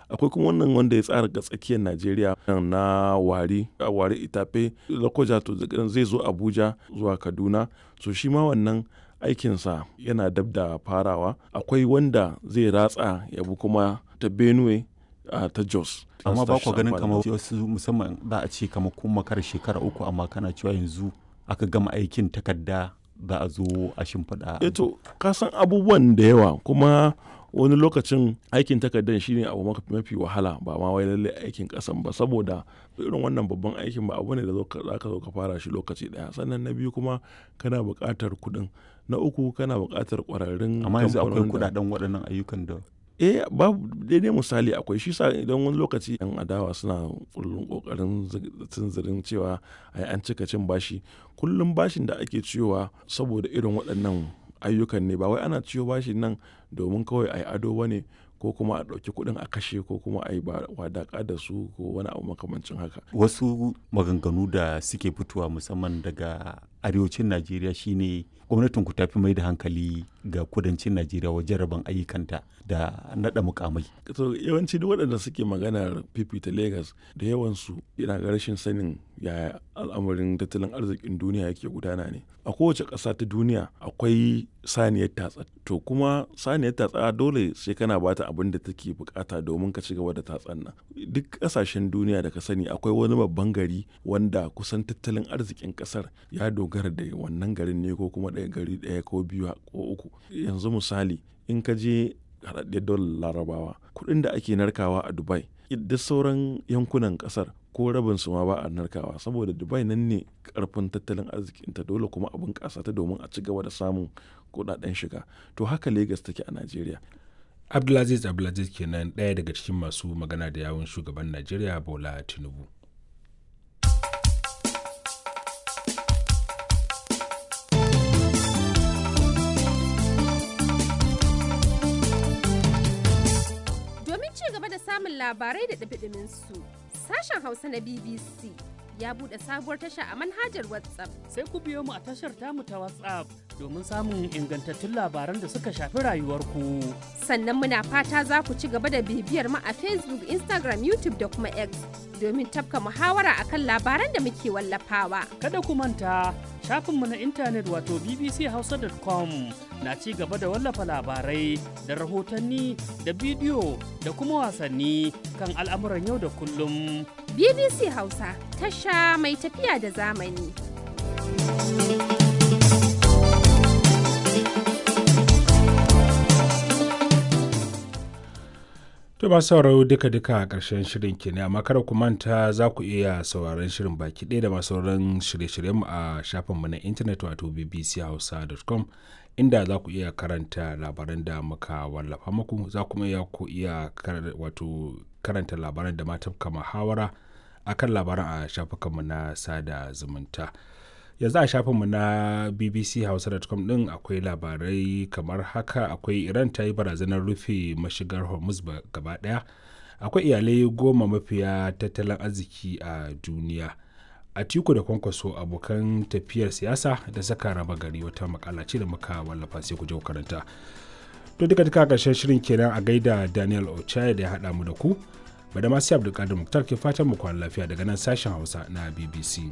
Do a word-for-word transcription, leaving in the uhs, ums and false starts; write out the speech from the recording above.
Akwai kuma wannan wanda ya tsara ga tsakiyar Najeriya na Warri, Warri Itafe Lokoja to zai zo Abuja zuwa Kaduna. So shi ma wannan aikinsa yana dab da farawa. Akwai wanda zai ratsa ya bi kuma ta Benue ta Jos. Amma ba kwa ganin kamar wasu musamman za a ce kamar kun makara shekara uku amma kana cewa yanzu aka gama aikin takarda za a zo a shimfiɗa. Eh to ka san abubuwan da yawa kuma wani lokacin aikin takardar shine abu mafi wahala ba ma wai lallai aikin ƙasan ba saboda irin wannan babban aikin ba abu ne da za ka zo ka fara shi lokaci ɗaya. Sannan na biyu kuma kana buƙatar kuɗin. Na uku kana buƙatar ƙwararrun Amma yanzu akwai kamfanonin da kuɗaɗen waɗannan ayyukan da Eh babu daidai misali akwai shi sa idan wani lokaci 'yan adawa suna kullum ƙoƙarin tunzirin cewa ai an cika cin bashi. Kullum bashin da ake ciyowa saboda irin waɗannan ayyukan ne ba wai ana ciyo bashin nan domin kawai a yi ado ba ne ko kuma a ɗauki kuɗin a kashe ko kuma a yi wadaƙa da su ko wani abu makamancin haka. Wasu maganganu da suke fitowa musamman daga arewacin Najeriya shine gwamnatin ku tafi mai da hankali ga kudancin Najeriya wajen rabon ayyukanta da naɗa mukamai. To yawanci duk waɗanda suke maganar fifita Legas da yawansu yana ga rashin sanin yaya al'amarin tattalin arzikin duniya yake gudana ne. A kowace ƙasa ta duniya akwai saniyar tatsa. To kuma saniyar tatsa dole sai kana bata abin da take bukata domin ka ci gaba da tatsan nan. Duk ƙasashen duniya da ka sani akwai wani babban gari wanda kusan tattalin arzikin ƙasar ya dogara da wannan garin ne ko kuma ɗaya gari ɗaya ko biyu ko uku. Yanzu misali in ka je haɗaɗɗiyar daular Larabawa kuɗin da ake narkawa a Dubai duk sauran yankunan ƙasar ko rabin su ma ba a narkawa saboda Dubai nan ne ƙarfin tattalin arzikinta dole kuma a bunƙasa ta domin a ci gaba da samun kuɗaɗen shiga. To haka Legas take a Najeriya. Abdulaziz Abdulaziz kenan ɗaya daga cikin masu magana da yawun shugaban Najeriya Bola Tinubu. Domin ci gaba da samun labarai da ɗumi su sashen Hausa na B B C ya buɗe sabuwar tasha a manhajar WhatsApp. Sai ku biyo mu a tashar tamu ta WhatsApp domin samun ingantattun labaran da suka shafi rayuwarku. Sannan muna fata za ku ci gaba da bibiyar mu a Facebook, Instagram, YouTube da kuma X domin tafka muhawara akan labaran da muke wallafawa. Kada ku manta shafinmu na intanet wato b b c hausa dot com na ci gaba da wallafa labarai da rahotanni da bidiyo da kuma wasanni kan al'amuran yau da kullum. B B C Hausa tasha mai tafiya da zamani. To masu sauraro duka-duka a ƙarshen shirin kenan amma kada ku manta za ku iya sauraron shirin baki ɗaya da masu sauran shirye-shiryenmu a shafinmu na intanet wato b b c hausa dot com inda za ku iya karanta labaran da muka wallafa muku za kuma iya ku iya wato karanta labaran da ma tafka muhawara akan labaran a shafukanmu na sada zumunta. Yanzu a shafinmu na b b c hausa dot com ɗin akwai labarai kamar haka: akwai Iran ta yi barazanar rufe mashigar Hormuz gaba ɗaya, akwai iyalai goma mafiya tattalin arziki a duniya, Atiku da Kwankwaso abokan tafiyar siyasa da saka raba gari, wata makala ce da muka wallafa sai ku je ku karanta. To duka duka ƙarshen shirin kenan, a gaida Daniel Ochai da ya haɗa mu da ku. Badamasi Abdulkadir Muktar ke fatan mu kwana lafiya daga nan sashen Hausa na B B C.